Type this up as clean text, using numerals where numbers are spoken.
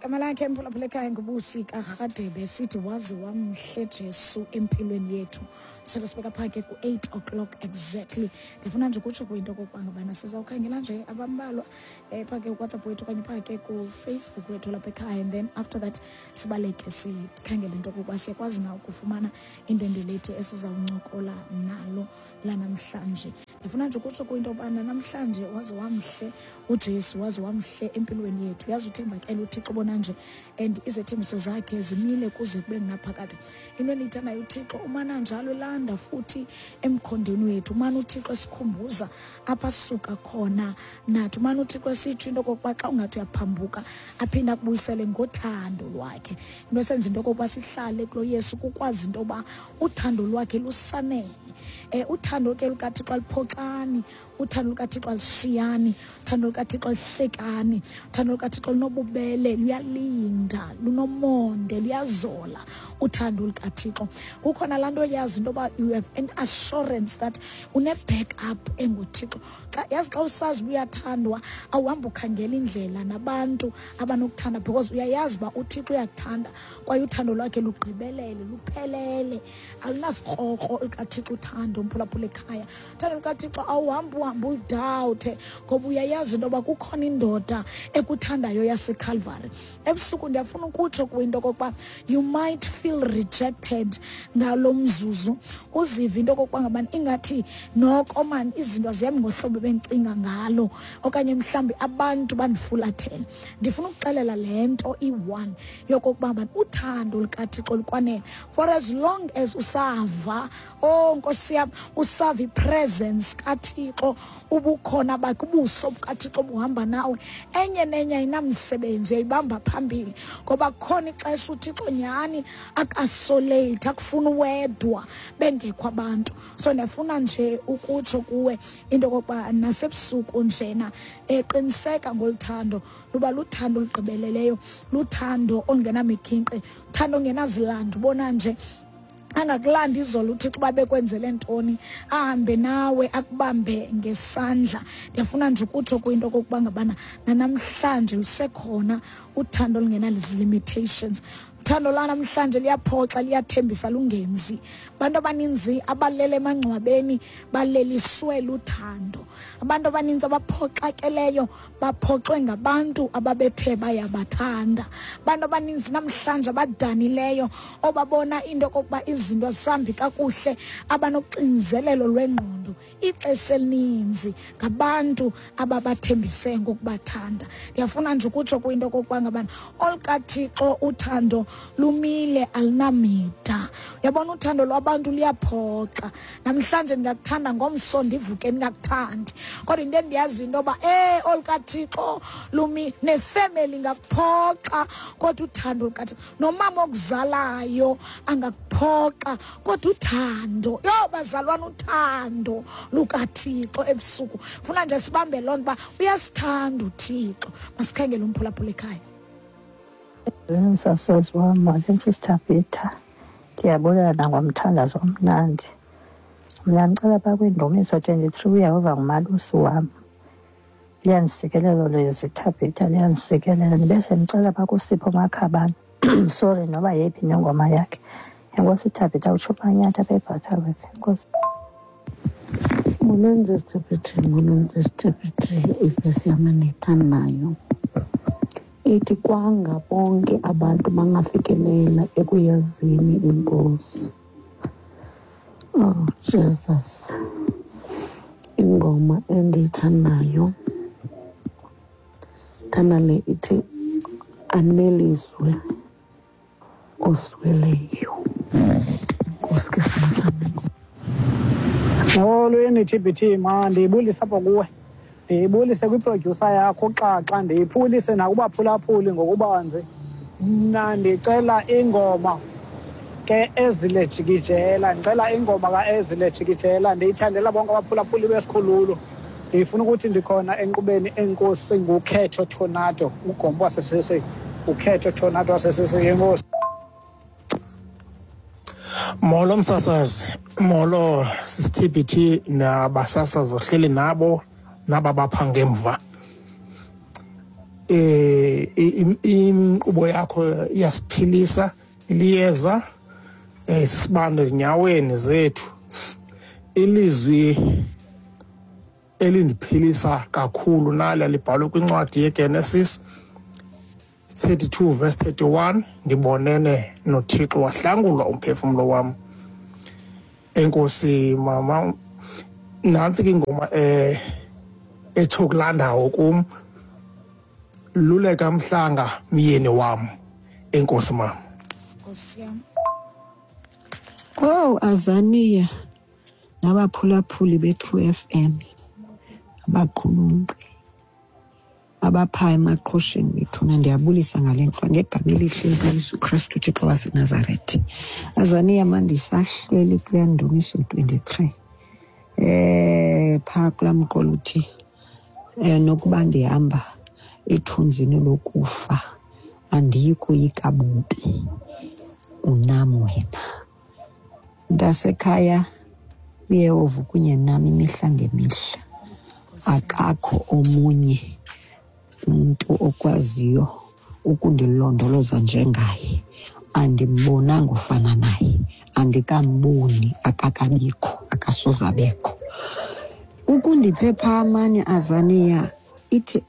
Igama lakhe mphulaphula ekhaya nguBusi kaRhadebe, sithi waze wamhle Jesu empilweni yethu. Sele sibeka phaa ke ku-8 o'clock exactly. Ndifuna nje ukutsho kwinto okokuba ngabana sizawukhangela nje abambalwa phaa ke kuWhatsApp wethu okanye phaa ke kuFacebook wethu lapha ekhaya, and then after that sibaleke sikhangele into okokuba siyakwazi na ukufumana indwendwe lethu esizawuncokola nalo lanamhlanje. Ndifuna nje ukutsho kwinto yobana namhlanje waze wamhle uJesu, waze wamhle empilweni yethu. Yazi uthembakele uThixo bona nje, and izethembiso zakhe zimile kuze kube ngunaphakade. Into endiyithandayo, uThixo umana njalo elanda futhi emkhondweni wethu, umana uThixo esikhumbuza apha sisuka khona nathi, umana uThixo esitsho into okokuba xa ungathi uyaphambuka aphinde akubuyisele ngothando lwakhe. Into esenza into okokuba sihlale kulo Yesu kukwazi into yoba uthando lwakhe lusanele. Uthando ke lukaThixo aluphoxani, uthando lukaThixo alushiyani, uthando lukaThixo aluhlekani, uthando lukaThixo lunobubele, luyalinda, lunomonde, luyazola uthando lukaThixo. Kukhona laa nto yazi into yoba you have an assurance that une-backup enguThixo. Xa yazi xa usazi uba uyathandwa, awuhambi ukhangela indlela nabantu abanokuthanda, because uyayazi uba uThixo uyakuthanda kwaye uthando lwakhe lugqibelele, luphelele, alunasikrokro likaThixo uthando. Mphulaphula ekhaya, uthando lukaThixo awuhambi uhambe ulidawuthe, ngoba uyayazi into yoba kukhona indoda ekuthandayo yaseCalvary. Ebusuku ndiyafuna ukutsho kwinto okokuba you might feel rejected ngalo mzuzu, uzive into okokuba ngabani ingathi noko mani izinto azihambi ngohlobo bendicinga ngalo, okanye mhlawumbi abantu bandifulathele. Ndifuna ukuxelela le nto iyi-one yokokuba ngabani uthando lukaThixo lukwanele for as long as usava, oh Nkosi yam, usava ipresence kaThixo, ubukhona bakhe, ubuso bukaThixo buhamba nawe. Enye nenye ayinamsebenzi, uyayibamba phambili, ngoba kukhona ixesha uThixo nyhani akuisolate, akufuna uwedwa bengekho abantu. So ndiyafuna nje ukutsho kuwe into okokuba nasebusuku njena, qiniseka ngolu thando, luba luthando olugqibeleleyo, luthando olungenamikhinkqi, uthando ongenazilandu. Ubona nje angakulanda izolo uThixo uba bekwenzele ntoni, ahambe nawe akubambe ngesandla. Ndiyafuna nje ukutsho kwinto okokuba ngabana nanamhlanje lusekhona uthando olungenali-limitations. Uthando lwanamhlanje liyaphoxa, liyathembisa, lungenzi. Abantu abaninzi abalele emangcwabeni baleliswe luthando. Abantu abaninzi abaphoxakeleyo baphoxwe ngabantu ababethe bayabathanda. Abantu abaninzi namhlanje abadanileyo, obabona into okokuba izinto azisambi kakuhle, abanoxinzelelo lwengqondo, ixesha elininzi ngabantu ababathembise ngokubathanda. Ndiyafuna nje ukutsho kwinto okokuba ngabana olukaThixo uthando lumile, alunamida. Uyabona uthando lwabantu luyaphoxa. Namhlanje ndingakuthanda, ngomso ndivuke ndingakuthandi, kodwa into endiyaziyo into yoba olukaThixo lumi. Nefemeli ingakuphoxa, kodwa uthando lukaThixo, nomama okuzalayo angakuphoxa, kodwa uthando, yho bazalwana, uthando lukaThixo. Ebusuku funa nje sibambe loo nto uba uyasithanda uThixo. Masikhangele umphulaphula ekhaya. Msasazi wam, molweni Sister Peter. Ndiyabulela nangomthandazo omnandi. Mna ndicela phaa kwiNdumiso 23, "UYehova ngumalusi wam". Liyandisikelela lezi, Thabitha, liyandisikelela. Ndibe sendicela phaa kuSipho Makhabane, sorry, noba yeyiphi nengoma yakhe. Enkosi Thabitha, utsho uManyatha apha eButterworth. Enkosi. Molweni Sister, molweni Sister. Ivesi yam endiyithandayo ithi, "Kwanga bonke abantu bangafikelela ekuyazini iNkosi." Oh Jesus. Ingoma endiyithandayo, thanda le ithi "Aneliswe Osweleyo". Enkosi ke sibonisa. Molweni TBT, ma ndiyibulise apha kuwe, ndiyibulise kwiprodyusa yakho uXaxa, ndiyibulise nakubaphulaphuli ngokubanzi. Mna ndicela ingoma ke Ezile Jikijela, ndicela ingoma ka-Ezile Jikijela, ndiyithandela bonke abaphulaphuli besikhululo. Ndifuna ukuthi ndikhona enkqubeni. Enkosi. Ngukhetho Tornado, ugombo wasesese, ukhetho Tornado wasesese. Enkosi. Molo msasazi, molo sisiTBT nabasasazi ohleli nabo naba bapha ngemva. Inkqubo yakho iyasiphilisa, iliyeza, sisibane ezinyaweni zethu. Ilizwi elindiphilisa kakhulu nali libhalwe kwincwadi yeGenesis 32 verse 31, ndibonene noThixo wahlangulwa umphefumlo wam. Enkosi mama, nantsi ke ingoma etsho kulaa ndawo kum, luleka mhlanga myeni wam. Enkosi mama. Nkosi yam. Owu, Azania nabaphulaphuli be-True FM, abaqulunqi abaphaa emaqhosheni bethuna, ndiyabulisa ngale ntlwa ngegama elihle likaYesu Krestu uThixo waseNazaretha. Azania, mandisahleli kulaa Ndumiso 23, phaa kulaa mqolo uthi nokuba ndihamba ethunzini lokufa andiyi koyika bubi, unam wena. Mntasekhaya, uYehova kunye nam imihla ngemihla, akakho omunye umntu okwaziyo ukundilondoloza njengaye. Andimbonanga ufana naye, andikamboni, akakabikho, akasoze abekho. Ukundiphepha amane, Azania, ithi